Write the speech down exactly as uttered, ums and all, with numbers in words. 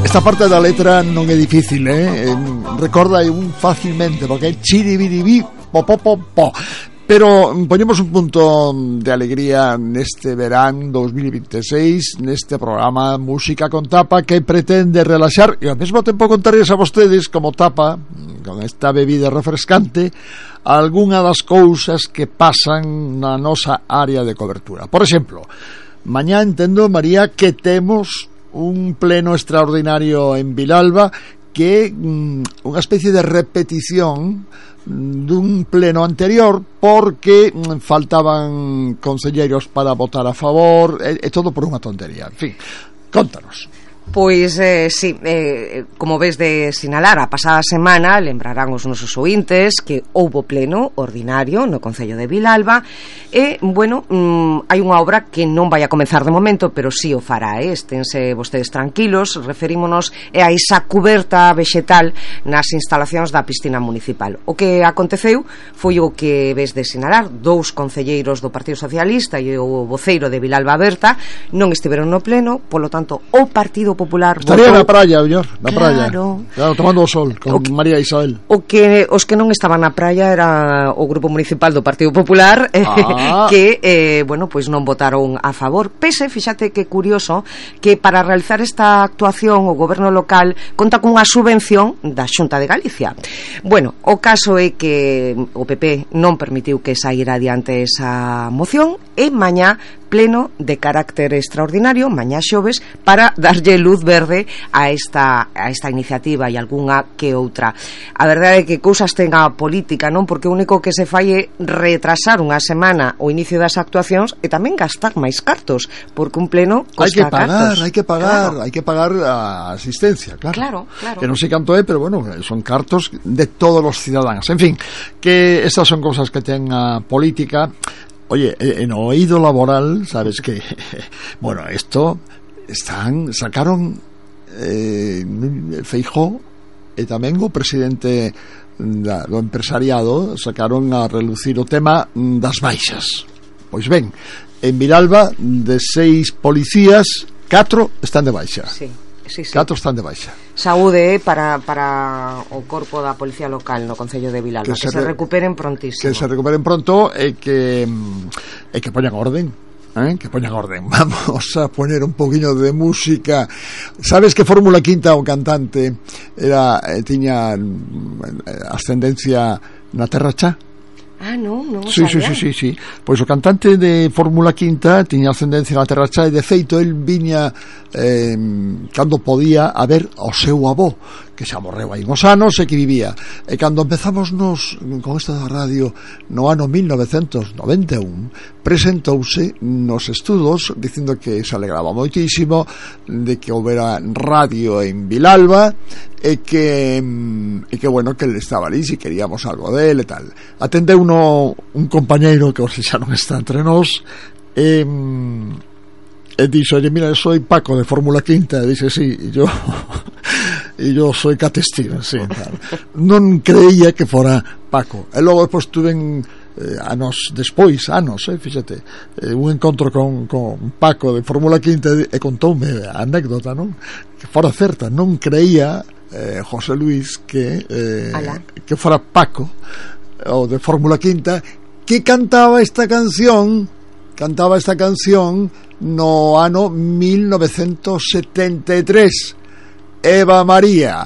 Esta parte da letra non é difícil, eh? Recorda un facilmente, porque é chiribiribí, po, po, po, po. Pero poñemos un punto de alegría neste verán dos mil veintiséis, neste programa Música con Tapa, que pretende relaxar e ao mesmo tempo contarles a vostedes como tapa, con esta bebida refrescante, algunha das cousas que pasan na nosa área de cobertura. Por exemplo, mañá entendo, María, que temos un pleno extraordinario en Vilalba que mm, unha especie de repetición dun pleno anterior porque mm, faltaban conselleiros para votar a favor e, e todo por unha tontería. En fin, contanos. Pois, eh, sí, eh, como ves de sinalar, a pasada semana lembrarán os nosos ointes que houbo pleno ordinario no Concello de Vilalba e, bueno, mm, hai unha obra que non vai a comenzar de momento, pero sí o fará, eh? Esténse vostedes tranquilos, referímonos a esa cuberta vexetal nas instalacións da piscina municipal. O que aconteceu foi o que ves de sinalar, dous concelleiros do Partido Socialista e o voceiro de Vilalba Berta non estiveron no pleno, polo tanto, o Partido Popular estaría votou... na praia, mellor, na praia. Claro. Claro, tomando o sol con que, María Isabel. O que os que non estaban na praia era o grupo municipal do Partido Popular, ah. que eh, bueno, pois non votaron a favor. Pese, fíxate que curioso que para realizar esta actuación o goberno local conta cunha subvención da Xunta de Galicia. Bueno, o caso é que o P P non permitiu que saíra adiante esa moción e mañá pleno de carácter extraordinario, mañá xoves, para darlle luz verde a esta a esta iniciativa e algunha que outra. A verdade é que cousas ten a política, non? Porque o único que se fai é retrasar unha semana o inicio das actuacións e tamén gastar máis cartos, porque un pleno costa hai que pagar, cartos. Hai que pagar, claro. hai que pagar a asistencia, claro. Claro, claro. Que non sei canto é, pero bueno, son cartos de todos os cidadáns. En fin, que estas son cousas que ten a política. Oye, en oído laboral, sabes que, bueno, esto están, sacaron eh, Feijóo e tamén o presidente da, do empresariado sacaron a relucir o tema das baixas. Pois ben, en Vilalba de seis policías, catro están de baixa. Sí. Sí, sí. Catro están de baixa. Saúde eh, para, para o corpo da Policía Local no Concello de Vilalba, que, que se, re... se recuperen prontísimo. Que se recuperen pronto e que e que poñan orden, eh? que poñan orden. Vamos a poner un poquinho de música. Sabes que Fórmula Quinta, o cantante, era eh, tiña ascendencia na Terra Chá? Ah, non, non sí, sí, sí, sí, sí. Pois o cantante de Fórmula Quinta tiña ascendencia na Terra Chá e de feito el viña eh, cando podía a ver ao seu avó, que xa morreu hai uns anos e que vivía. E cando empezamos nos con esta radio no ano mil novecentos noventa e un, presentouse nos estudos dicindo que se alegraba moitísimo de que houbera radio en Vilalba e que e que bueno, que ele estaba ali se queríamos algo dele e tal. Atendeu uno, un compañeiro que hoxe xa non está entre nós e, e dixo, oye, mira, soy Paco de Fórmula Quinta. E dixe, sí, e yo e yo soy Cat Stevens, sí, tal. Non creía que fora Paco. E logo depois tuven eh, anos despois, anos, eh, fíxate, eh, un encontro con, con Paco de Fórmula Quinta e contoume a anécdota, non? Que fora certa, non creía eh, José Luis que eh, que fora Paco o de Fórmula Quinta que cantaba esta canción cantaba esta canción no ano mil novecentos setenta e tres, Eva María.